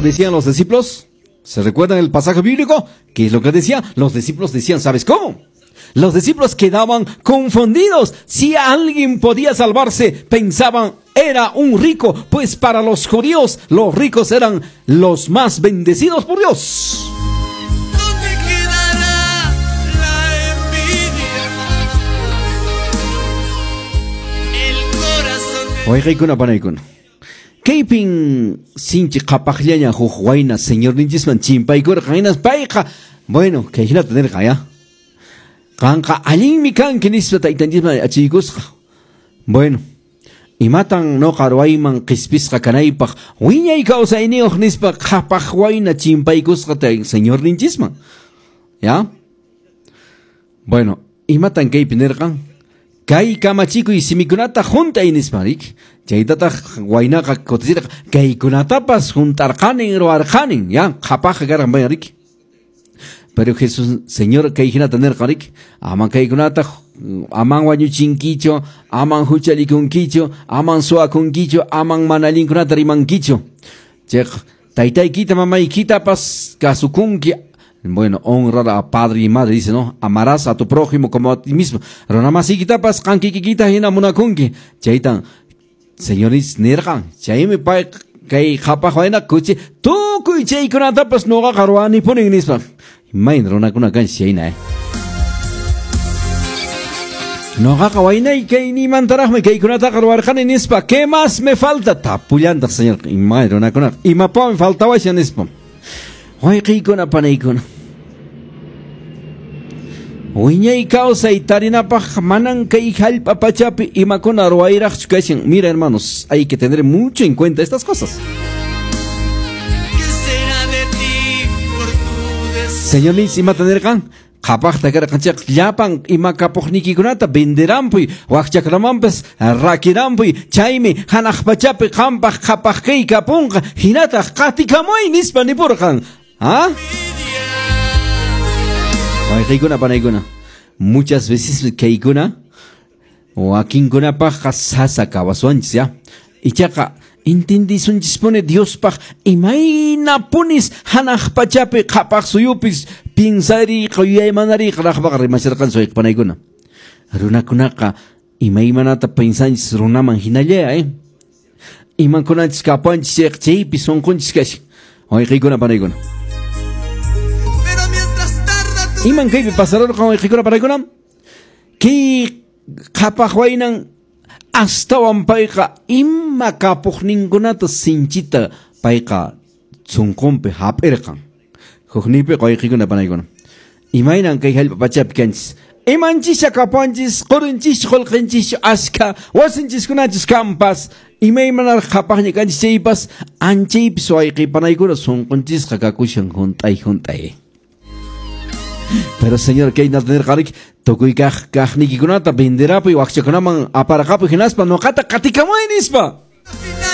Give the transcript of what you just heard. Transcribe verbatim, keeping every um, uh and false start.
decían los discípulos? ¿Se recuerdan el pasaje bíblico? ¿Qué es lo que decían? Los discípulos decían, ¿sabes cómo? Los discípulos quedaban confundidos. Si alguien podía salvarse, pensaban, era un rico, pues para los judíos los ricos eran los más bendecidos por Dios. ¿Dónde quedará la envidia? El corazón de... Wayqiykuna panaykuna. Kaypin sinchi qhapaqllaña huk wayna señorninchisman chimpaykurqan hinas payqa, bueno, kay hinata nirqan ya. Qanqa allinmi kanki nispa taytanchisman achiykusqa. Bueno, imatan noqa ruwayman qhispisqa kanaypaq wiñay kawsayniyuq nispa qhapaq wayna chimpaykusqa tay señorninchisman. ¿Ya? Bueno, imatan kaypi nirqan? Kay kamachikuy simikunata hunt'ay nispa, rik? Chaytataq waynaqa kutichirqa kaykunatapas hunt'arqanin ruwarqanin, ya, qhapaqqa karqan payqa, rik? Pero Jesús, Señor, kay hinata nirqan, rik? Aman kaykunata, aman wañuchinkichu, aman huchallikunkichu, aman suwakunkichu, aman mana allinkunata rimankichu. Chayqa taytaykita mamaykitapas kasukunki. Bueno, honrar a padre y madre, dice, ¿no? Amarás a tu prójimo como a ti mismo. Runamasikitapas qankikikita hina munakunki. Chaytan, señores, nirqan. Chaymi pay kay qhapaq wayna kuchi tukuy chaykunatapas nuqaqa ruwanipunin nispa. Imayna runakuna kanchis chayna, eh. Nuqaqa waynay kaynimantaraqmi kaykunataqa ruwarqani nispa. ¿Qué más me falta? Tapullantaq, señor. Imayna runakunaqa. Imapaqmi faltawashan nispa. Wayqiykuna panaykuna. Wiñay kawsay tarinapaq manan kay hallp'a pachapi imakuna ruwayraqchu kashan. Mira, hermanos, hay que tener mucho en cuenta estas cosas. ¿Qué será de ti por tu deseo? Señor, imata nirqan? Qhapaqta karqan chayqa llapan ima kapuqniykikunata venderampuy, wakchakunamanpas rakirampuy, chaymi hanaq pachapi qampaq qhapaq kay kapunqa, hinataq qatikamuy nispa nipurqan. ¿Ah? Wayqiykuna panaykuna. Muchas veces kaykuna wakinkunapaqqa sasa kawaswanchis, ya. Ichaqa entendisunchispuni Diospaq imaynapunis hanaq pachapi qhapaq suyupis piensariqa yuyaymanariqa raqpaqa rimasharqanchis wayqipanaykuna. Runakunaqa imaymanata pensanchis runaman hinalla, eh. Imankunanchis kapanchis chayqa chaypi sunqunchis kashan. Wayqiykuna panaykuna. Pero mientras tarda tu Iman kaypi pasarurqan wayqiykuna panaykuna? Kay qhapaq waynan astawan payqa ima kapuqninkunata sinchita payqa sunqunpi hap'irqan. Huknipi wayqiykuna panaykuna. Imaynan kay hallp'a pachapi kanchis? Imanchischa kapanchis, qurinchis, qullqinchis, askha, wasinchiskunachis kampas, imaymanaraq qhapaqña kanchis chaypas, anchaypis wayqipanaykuna sunqunchisqa kakushan hunt'ay hunt'ay. Pero señor, kay nirqarik, tukuy kaq kaqniykikunata venderapuy wakchakunaman aparqapuy hinaspa nuqata qatikamuy nispa. Al final